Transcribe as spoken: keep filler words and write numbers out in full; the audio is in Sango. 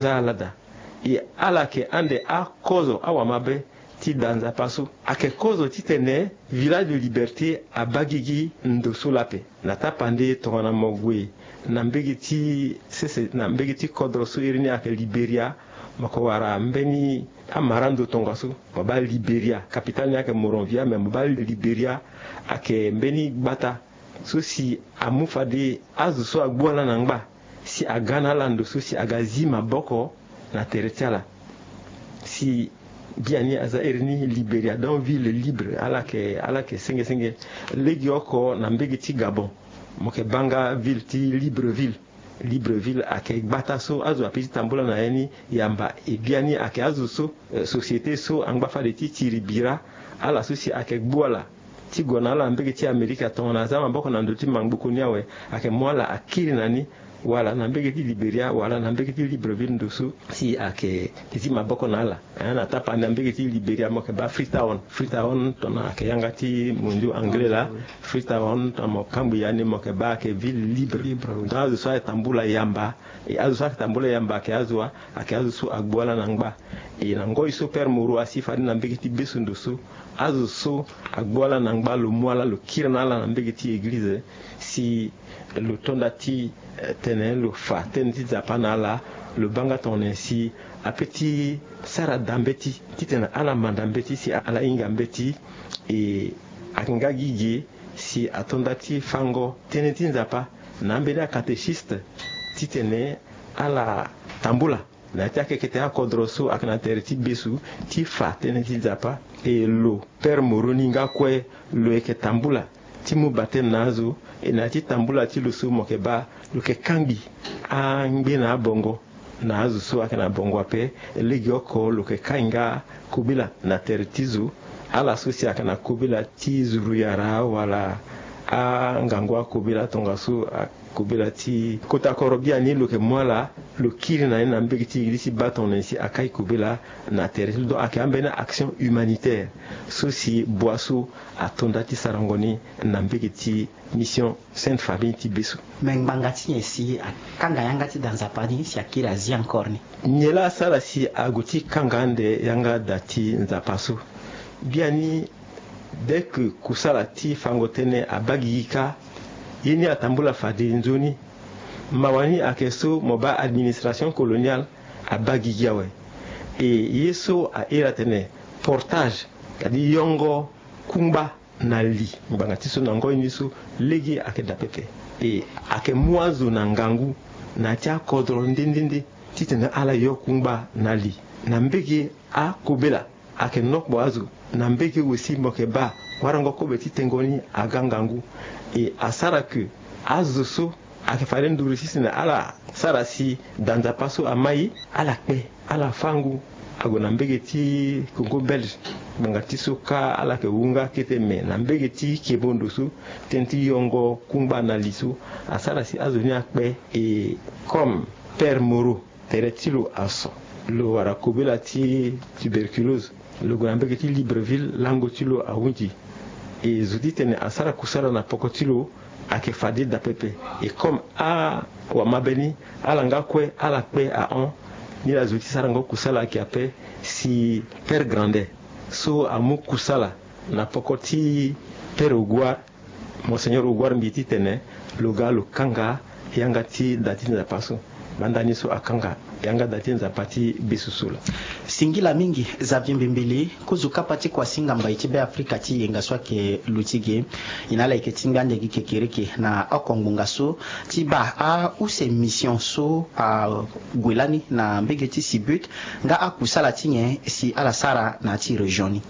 aza ala daa. E ala yeke ande akozo awamabe ti da Nzapa so. Ayeke kozo titene Village de Liberté abaa gigi ndo so laa ape. Na tapande tongana mo gue na mbege ti sese, na mbege ti kodro so iri ni ayeke Liberia, mo yeke wara mbeni amara ndo tongaso. Mo baa Liberia, capitale ni ayeke Monrovia, me mo baa Liberia ayeke mbeni gbata so si amu fade azo so agbu ala na ngba si aga na ala ndo so si aga zi maboko na tere ti ala. Si biani aza iri ni Liberia, donc ville libre, ala yeke, ala yeke senge senge. Legeoko na mbege ti Gabon, mo yeke baa nga ville ti Libreville. Libreville ayeke gbata so azo ape ti tambula na ya ni yamba. E biani ayeke azo so, eh, société so angba fade ti tiri bira ala so si ayeke gbu ala ti gue na ala na mbege ti Amerika tongana aza maboko na ndö ti mangboko ni awe, ayeke mu ala akiri na ni, wala na mbege ti Liberia, wala na mbege ti Libreville ndo so si ayeke ti zi maboko na ala. Eh, na tapande na mbege ti Liberia mo yeke baa Freetown. Freetown tongana ayeke yanga ti mondio anglais laa. Freetown tongana mo kangbi ya ni mo yeke baa ayeke ville libre. Libre, oui. Donc azo so ayeke tambula yamba, e azo so ayeke tambula yamba ayeke azo wa, ayeke azo so agbu ala na ngba. E na ngoi so Père Moreau asi fade na mbege ti beso ndo so, azo so agbu ala na ngba lo mu ala lo kiri na ala na mbege ti eglize si lo to nda ti, eh, tene lo fa tënë ti Nzapa na ala, lo baa nga tongana nyen si ape ti sara daa mbeti titene ala manda mbeti si ala hinga mbeti. E ayeke nga gi ge si ato nda ti fango tënë ti Nzapa na ambeni acatéchiste titene ala tambula na ya ti akekete akodro so ayeke na tere ti beso ti fa tënë ti Nzapa. E lo Père Moreau ni nga kue lo yeke tambula ti mu batême na azo. E na ya ti tambula ti lo so mo yeke baa lo yeke kangbi angbe na abongo na azo so ayeke na bongo ape. Legeoko lo yeke kai nga kobela na tere ti zo. Ala so si ayeke na kobela ti zuruyara wala angangu akobela tongaso, kobela ti kota koro biani lo yeke mu ala lo kiri na ni na mbege ti eglize ti baa tongana nyen si akai kobela na tere ti lo. Donc ayeke ambeni action humanitaire so si bua so ato nda ti sarango ni na mbege ti mission Sainte Famille ti beso. Me ngbanga ti nyen si akanga yanga ti da Nzapa ni si akiri azi encore ni? Nyen laa asara si ague ti kanga ande yanga da ti Nzapa so? Biani, dès que kusala ti fango tënë abaa gigi kâ, ye ni atambula fade nzoni. Mawa ni ayeke so mo baa administration coloniale abaa gigi awe. E ye so a iri atene portage, c'est-à-dire yongo kungba na li ngbanga ti so na ngoi ni so lege ayeke daa pepe. E ayeke mu azo na ngangu na ya ti akodro nde nde nde titene ala yo kungba na li. Na mbege akobela ayeke nokpo azo. Na mbege aussi mo yeke baa warango kobe ti tengo ni aga ngangu. E asara ke azo so ayeke fade nduru titene ala sara si da Nzapa so amai, ala kpe, ala fâ ngu. Ague na mbege ti Congo Belge, ngbanga ti so kâ ala yeke wu nga kete, me na mbege ti kebo ndo so, tënë ti yongo kungba na li so asara si azo ni akpe. E comme Père Moreau, tere ti lo aso, lo wara kobela ti tuberculose, lo gue na mbege ti Libreville, lango ti lo ahunzi. E zo titene asara kusala na poko ti lo ayeke fade daa pepe. E comme awamabe ni, ala nga kue ala kpe ahon. Ni laa zo ti sarango kusala ayeke ape. Si Père Grandet so amu kusala na poko ti Père Ogouard, Monseigneur Ogouard Mbi, titene lo ga lo kanga yanga ti da ti Nzapa so. Banda ni so akanga yanga da ti Nzapa ti beso so laa. Singila mingi Xavier Mbembele, kozo kapa ti kuasinga mbai ti Beafrika ti yenga so ayeke lo ti ge. E na ala yeke tingbi ande gi kekereke na oko ngbonga so ti baa ause mission so ague lani na mbege ti Sibut, nga akusala ti nyen si ala sara na ya ti région ni?